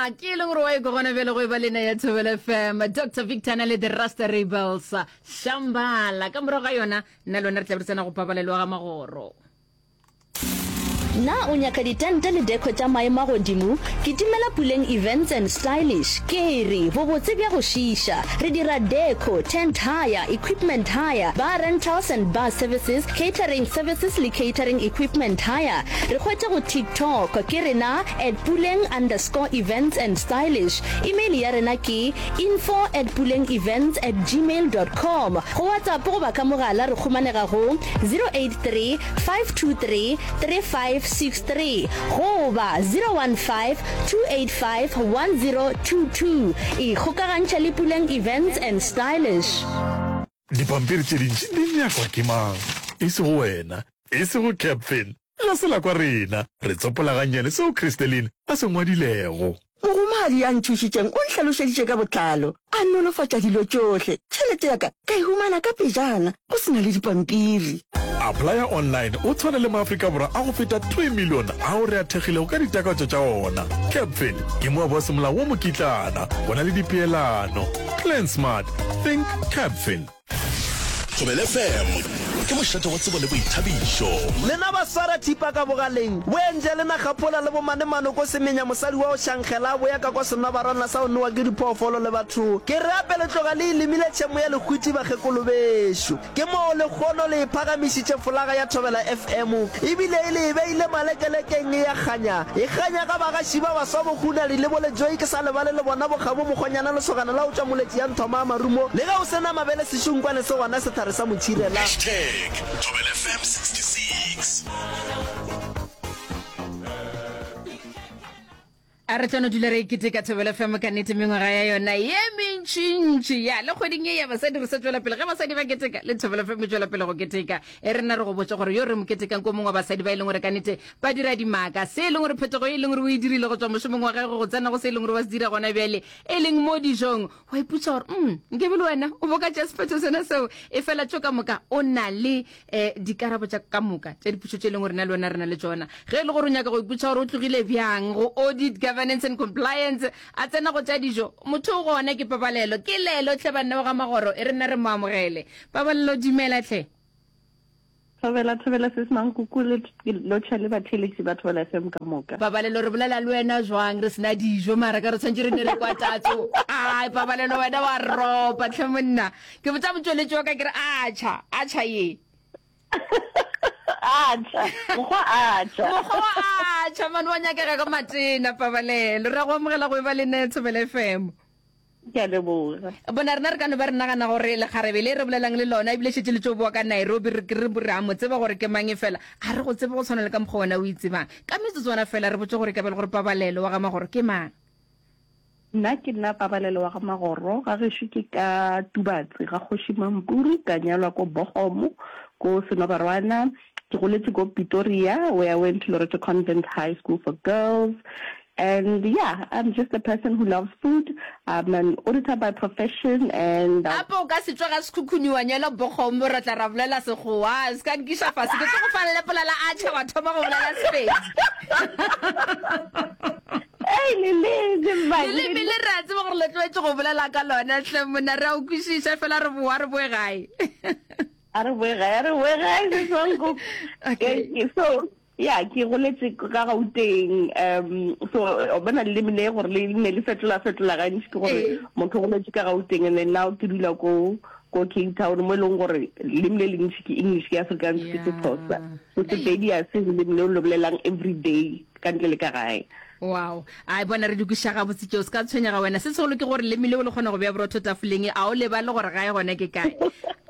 Ya, ke e leng gore wa e gona bjale go e ba lena ya Thobela FM. Dr Victor na le the Rasta Rebels. Shambala. Ka morago ga yona, nna le wena re tla be re tsena go pabalelo ga magoro. Na o nyaka ditente le deco tša maemo a godimo? Kitimela Puleng Events and Stylish. Ke re, bobotse bja go šiiša. Re dira deco, tent hire, equipment hire, bar rentals and bar services, catering services le catering equipment hire. Re hwetše go TikTok, ke rena at Puleng underscore events and stylish. Email ya rena ke info at pulengevents at gmail dot com. Go WhatsApp goba ka mogala re khumanega go 083 523 3563 goba 015 285 1022. Ikgokagantšha le Puleng Events and Stylish. Dipampiri tše dintši di nyakwa ke mang? E sego wena, e sego Captain. La se la kwa rena re tsopola gannyane seo Christeline a se ngwadilego. Mogomadi ya nthušitšeng o nhlalošeditše ka botlalo, a nolofatša dilo tšohle. Tšhelete ya ka ka e humana ka pejana, go se na le dipampiri. Applya online o tshwane le maAfrika Borwa a go feta 3 milione ao re a thekgilego ka ditakatšo tša ona. Capfin ke moabi wa semolao wa mokitlana. Go na le dipeelano. Plan smart. Think Capfin. Thobela FM ke mošate wa tsebo le boithabišo. Lena ba swara thipa ka bogaleng, bo enje le nagapola le bo manemano ko semenya mosadi wa go šankgela a boya ka kwa senobarwana sa go nowa ke diphoofolo le batho. Ke re ape le tloga le e lemile tšhemo ya lehwiti bakgekolo bešo. Ke moo lekgono le e phagamišitše folaga ya Thobela FM ebile e le e beile malekelekeng e ya kganya. E kganya ga bagaši ba baswa bo Hunadi le bo Lejoi ke sa lebale le bona bo Kgabo Mokgonyana lesogana la go tšwa Moletši ya Nthoma a Marumo le ge o se na mabele sešunkwane se gona sethare sa motšhirela. Hashtag Thobela FM 66. A re tlo no dula re keteka Thobela FM ka nnete mengwaga ya yona ye mentšintši. Ya le kgweding ye ya basadi re sa tšwela pele ge basadi ba keteka le Thobela FM e tšwela pele go keteka. E rena re go botša gore yo re mo ketekang ko mongwe wa basadi ba e leng gore ka nnete ba dira dimaka. Se e leng gore phetogo e leng gore o e dirile go tšwa mošomong wa gagwe go tsena go se e leng gore wa se dira gona bjale e leng mo dijong. Wa ipotša gore mm nkebe le wena o bo ka tšea sephetho sona seo e fela tšo ka moka o na le um dikarabo tša ka moka tša dipotšo tše e leng gore na le wena re na le tšona. Ge e le gore o nyaka go ipotša gore o tlogile bjang go audit, governance and compliance a tsena go tša dijo, motho o gona ke Pabalelo. Ke lelo hle banna ba ga Magoro, e re nna re mo amogele. Pabalelo dumela hle. Thobela, thobela sis Mankuku le lotšha le batheeletši ba Thobela FM ka moka. Pabalelo re bolela le wena jwang re sena dijo mara ka re tshwanetse re ne re kwa tatso. Ai Pabalelo wena wa ropa tlhe monna. Ke botša motšweletši wa ka ke re atšha, atšha ye. Atšha, mokgwa atšha. Mokgwa wa atšha man wa nyakega ka matena Pabalelo. Re a go amogela go e ba le nna Thobela FM. Ke a leboga. Bona rena re ka no ba re nagana gore lekgarebe le re bolelang le lona ebile šetše le tšo boa ka Nairobi re re re a mo tseba gore ke mang efela a re go tsebe go tshwana le ka mokgwa wena o itsebang. Ka metsotswana fela re botše gore e ka ba le gore Pabalelo wa ga Magoro ke mang. Nna ke nna Pabalelo wa ga Magoro, ga gešo ke ka Tubatse ga Kgoši Mampuru, ka nyalwa ko Bogomo ko Senobarwana. Ke goletše ko Pitoria where I went to Loreto Convent High School for Girls and yeah, I'm just a person who loves food. I'm an auditor by profession and I. Gape o ka se tšwe ga Sekhukhune wa nyalwa Bogomo ra tla ra bolela Sekgowa. Se ka nkiša fase ke tlo go fa lepola la atšha wa thoma go bolela Sepedi. Ei, leleme, man, Leleme le re a tseba gore le tlwaetše go bolela ka lona hle monna, re a o kwešiša fela re boa re boe gae. A re boe gae, a re boe gae, sis Mankoko. Okay. Okay, so yeah, ke goletše ka Gauteng. Um, so o bona leleme le gore le ne le fetola fetola gantši ke gore Ee. motho o goletše ka Gauteng and then now ke dula ko ko Cape Town mo e leng gore leleme le lentši ke English ke Afrikaans ke Sexhosa. Yeah. So Sepedi a se leleme leo le bolelang every day ka ntle le ka gae. Wow. Ai bona re di kwešiša gabotse tšeo, se ka tshwenyega wena. Se segolo ke gore leme leo le kgona go bea borotho tafoleng, a o lebale gore gae gona ke kae.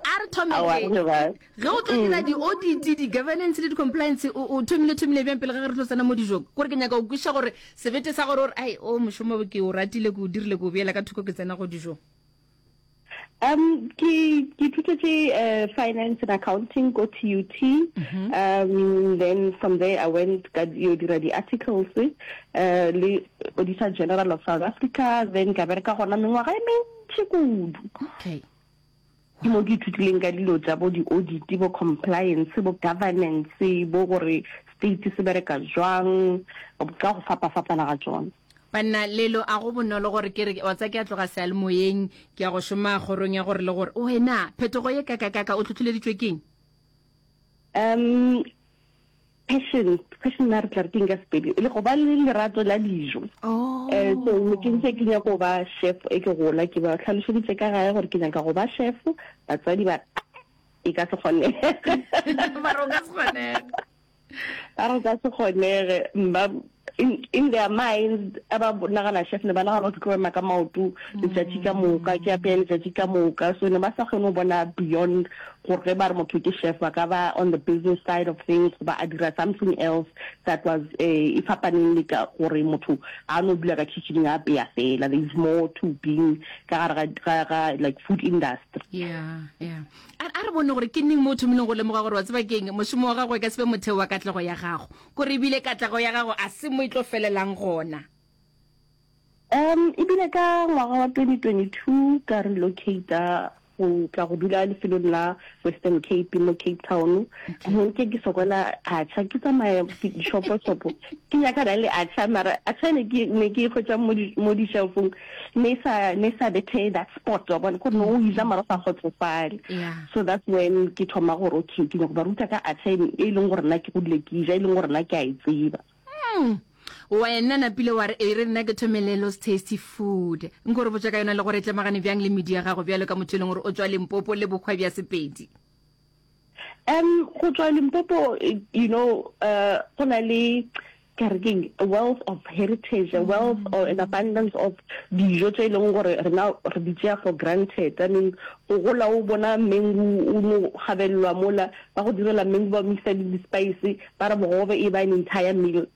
A re thome Aowa, ge. re lebale. Ge o tlo dira di-audit, di-governance le di-compliance, o, o thomile thomile bjang pele ga ge re tlo tsena mo dijong? Kore ke nyaka go kwešiša gore sebete sa gore o re, ai, o mošomo ke o ratile, ke o dirile, ke o beela ka thoko ke tsena go dijong. Um, ke ke ithutetše uh, finance and accounting ko TUT. Mm -hmm. Um, then from there I went ka yo dira di articles uh, le Auditor General of South Africa, then ka bereka gona mengwaga e mentši kudu. Okay. Ke mo ke ithutileng ka dilo tša bo di-audit, bo compliance, bo governance, bo gore state se bereka jwang, ka go fapa-fapana ga tšona. Banna, lelo a go bonolo gore ke re, wa tseba ke a tloga seyalemoyeng, ke ya go šoma kgorong ya gore le gore. Wena, phetogo ye kakakaka o hlohleleditšwe keng? Um, passion, passion na re tla re keng ka Sepedi? Le go ba le lerato la dijo. Oh. Eh, so ne ke ntse ke nyaka go ba chef e ke gola, ke ba hlalošeditše ka gae gore ke nyaka go ba chef, batswadi ba re, e ka se kgonege. Ba re o ka se kgonege. Ba re ka se kgonege. Ba, in, in their minds, a ba nagana chef, ne ba nagana gore ke tlo ema ka maoto letšatši ka moka, ke apeye letšatši ka moka. So ne ba sa kgone go bona beyond gore ge ba re motho ke chef, ba ka ba on the business side of things goba a dira something else that was e fapaneng le ka gore motho a no dula ka kitchen a apeya fela. There is more to being ka gare ga, ga, ga like food industry. Yeah, yeah. A, a re bone gore ke neng mo o thomileng go lemoga gore wa tseba ke'ng, mošomo wa gago e ka se be motheo wa katlego ya gago. Kore e bile katlego ya gago a se mo e tlo felelang gona. Um, e bile ka ngwaga wa 2022 ka relocata go tla go dula lefelong la Western Cape mo Cape Town. Nke ke sokola atšha, ke tsamaya dishopo-shopo ke nyakana le atšha, mara atšha ne ke ne ke e hwetša mo di mo di-shelf-ong ne e sa ne e sa bethe that spot wa bona kore no o ja mara o sa kgotsofale. Yeah. So that's when ke thoma gore okay ke nyako ba ruta ka atšha e e leng gore nna ke godile ke ja e leng gore nna ke a e tseba. Mm. Wena napile wa re e re nna ke thome Lelo's Tasty Food. Nko re botša ka yona le gore e tlemagane bjang le medu ya gago bjalo ka motho e leng gore o tšwa Limpopo le bohwa bja Sepedi. Um go tšwa Limpopo you know uh go na le ka re keng a wealth of heritage, a wealth or an abundance of dijo tše e leng gore rena re di tšea for granted. I mean go gola o bona mengu o no gabelelwa mola ba go direla mengu ba mixa le di-spice ba re bogobe e ba an entire meal.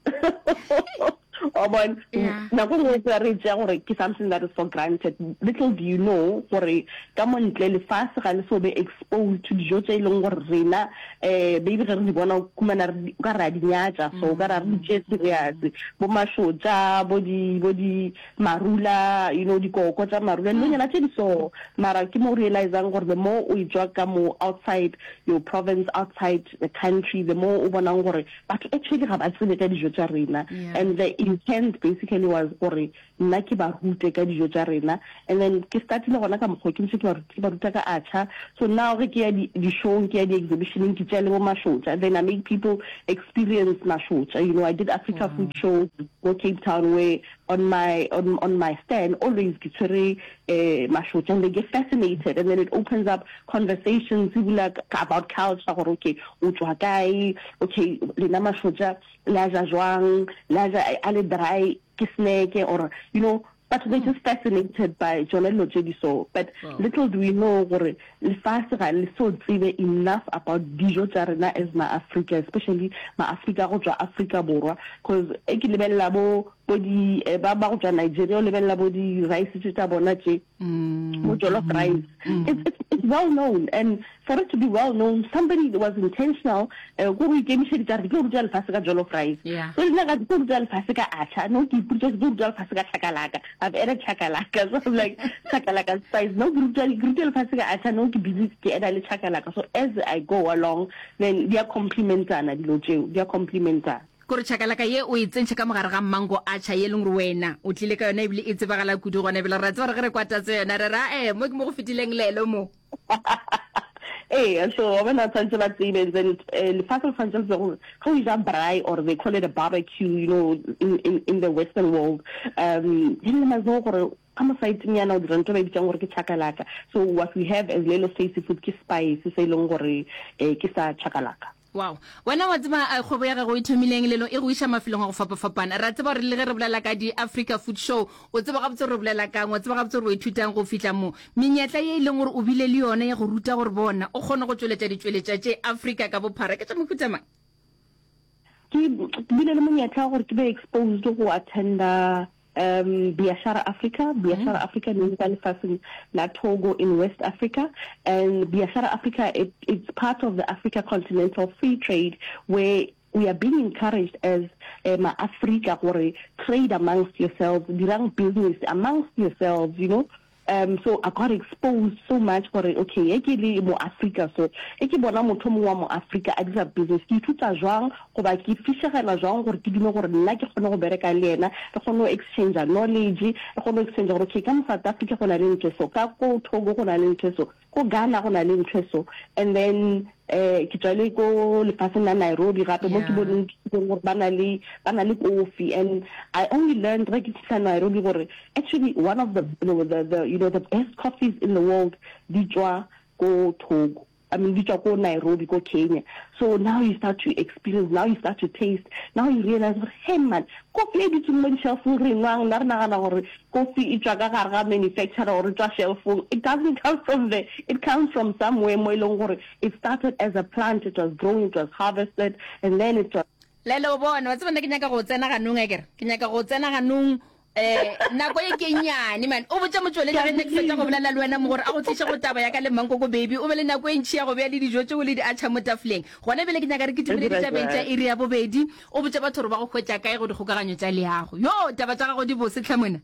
Wa bona? Yeah. Nako e nngwe tsela re e tšea gore ke something that is for granted. Little do you know gore ka mo ntle lefase ga le so be exposed to dijo tše e leng gore rena um maybe ge re di bona o khumana re o ka re a di nyatša so o ka re a re di tšee serious. Bo mašotša, bo di bo di marula, you know dikoko tša marula, dilonyana tše di so. Mara ke mo o realisang gore the more o etšwa ka mo outside your province, outside the country, the more o bonang gore Batho actually ga ba tsebe ka dijo tša rena and the intent basically was gore nna ke ba rute ka dijo tša rena and then ke startile gona ka mokgwa ke ntše ke ba ke ba ruta ka atšha. So now ge ke ya di di-showng ke ya di-exhibition-eng ke tšea le bo mašotša then I make people experience mašotša. You know I did Africa Food Show ko Cape Town where on my on on my stand always ke tshwere eh mašotša and they get fascinated and then it opens up conversations e bula about culture gore okay o tšwa kae okay lena mašotša le a ja jwang le a ja a le dry ke snack or you know batho they just fascinated by tšona dilo tše di so but Wow. little do we know gore lefase ga le so tsebe enough about dijo tša rena as ma-Afrika especially ma-Afrika go tšwa Afrika Borwa cause e ke lebelela bo bo di eh, ba ba go tšwa Nigeria o lebelela bo di rice tše tša bona tše bo jollof rice it's, it's, it's well known and for it to be well known somebody was intentional eh, ko go ikemišeditša re ke tlo ruta lefase ka jollof rice Yeah. so le nna ka ke tlo ruta lefase ka atšha no ke ipotša ke tlo ruta lefase ka chakalaka I've added chakalaka so I'm like chakalaka spice no ke ruta ke ruta lefase ka atšha no ke busy ke add le chakalaka so as I go along then di a complementana dilo tšeo di a complementana. Kore chakalaka ye o e tsentšhe ka mogare ga mango atšha ye e leng gore wena o tlile ka yona ebile e tsebagala kudu gona ebile re a tseba gore ge re kwa tatso yona re ra ee mo ke mo go fetileng lelo mo. Ee, so wa bona tshwanetse ba tsebe and then eh, lefase le tshwanetse le tsebe gore ge o ja braai or they call it a barbecue you know in, in, in the western world um then le must know gore ka mo saeteng yana o dira ntho e ba e bitsang gore ke chakalaka so what we have as Lelo's Tasty Food ke spice se e leng gore eh, ke sa chakalaka. Wow. Wena wa tseba eh, kgwebo ya gago e thomileng lelo e go iša mafelong a go fapafapana. Re a tseba gore le ge re bolela ka di-Africa Food Show, o tseba gabotse gore re bolela kang, wa tseba gabotse gore o ithutang go fihla mo. Menyetla ye e leng gore o bile le yona ya go ruta gore bona o kgone go tšweletša ditšweletša tše Afrika ka bophara ke tša mohuta mang? Ke bile le monyetla wa gore ke be exposed go attenda Um Biashara Africa, Biashara mm. Africa ne ka lefaseng la Togo in West Africa and Biashara Africa it, it's part of the Africa Continental Free Trade where we are being encouraged as uh, ma-Africa gore trade amongst yourselves, dirang business amongst yourselves, you know. Um so I got exposed so much gore okay ge ke le mo Afrika so, ge ke bona motho o mongwe wa mo Afrika a dira business, ke ithuta jwang goba ke fišegela jwang gore ke dume gore nna ke kgone go bereka le yena, re kgone go exchanger knowledge, re kgone go exchanger gore okay ka mo South Africa go na le ntho e so, ka ko Togo go na le ntho e so, ko Ghana go na le ntho e so. And then um ke tswa le ko lefatsheng la Nairobi gape mo ke boneng gore ba na le ba na le kofi and I only learned ge ke fihla Nairobi gore actually one of the, the, the, you know, the best coffees in the world di tšwa ko Togo. I mean, di tšwa ko Nairobi, ko Kenya. So now you start to experience, now you start to taste, now you realize gore, hey man, kofi e dutseng mo di-shelfong re e nwang, nna re nagana gore kofi e tšwa ka gare ga manufacturer or e tšwa shelfong. It doesn't come from there. It comes from somewhere mo e leng gore it started as a plant, it was grown, it was harvested, and then it was Lele o bone, wa tseba nna ke nyaka go tsena ganong akere? Ke nyaka go tsena ganong Eh, nako e ke nnyane man. O botša motšweletši ge nne ke fetša go bolela le wena mo gore a go tliše go taba ya ka le Mankoko baby. O be le nako e ntši ya go bea le dijo tšeo le di atšha mo tafoleng. Gona bjale ke nyaka re kitimele ditabeng tša iri ya bobedi. O botše batho gore ba go hwetša kae go dikgokaganyo tša leago. Yo, taba tša gago di bose tlhe mona.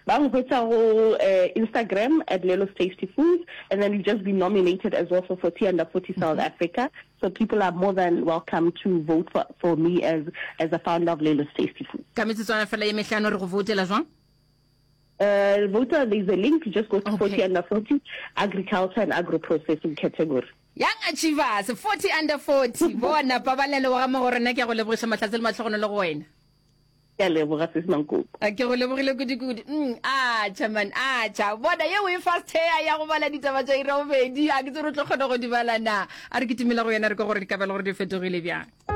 Ba nkhwetša go Instagram at Lelo's Tasty Foods and then we've just been nominated as well for 40 under 40 South Africa. So people are more than welcome to vote for, for me as, as the founder of Lelo's Tasty Foods. Ka metsotswana fela ye mehlano re go voutela jwang? Uh, voter, there's a link, just go to 40 under 40, agriculture and agro-processing category. Young Achievers, 40 under 40. Bona, pabalelo wa ga Magoro, nna ke a go lebogiša mahlatse le mahlogonolo go wena. Ke a leboga sis Mankoko. A ke go lebogile kudu-kudu. Mm, atšha man, atšha. Bona ye o e fast hair ya go bala ditaba tša iri ya bobedi. A ke tsebe re tlo kgona go di bala na. A re kitimela go yena re kwa gore dikabelo gore di fetogile bjang.